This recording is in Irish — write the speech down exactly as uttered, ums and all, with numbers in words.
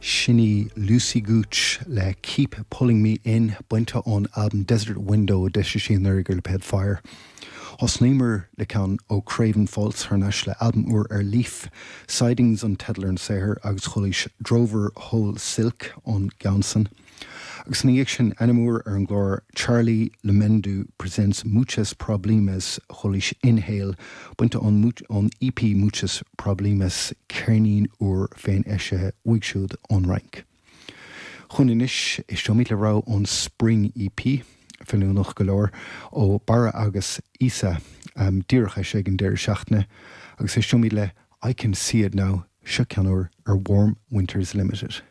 Sin í Lucy Gooch le Keep Pulling Me In bainte ón albam Desert Window d'eisigh sí anuraidh ar lipéad Fire. Thosnaíomar le ceann ó Craven Faults thar n-ais le albam úr ar Leaf, Sidings an teideal ar an saothar agus chualaís Drover Whole Silk ón gceann san. Agus ina dhiaidh sin ainm úr ar an gclár Charlie Le Mendu presents Muchas Problemas chualaís Inhale bainte ón ón EP Muchas Problemas ceirnín úr féin eisithe uaidh siúd ón Fhrainc. Chun anois éisteoimid le rogha ón Spring EP feiliúnach go leor ó Barra agus Isa um, díreach eisithe ag an deireadh seachtaine agus éisteoimid le I Can See It Now seo ceann úr ar Warm Winters Limited.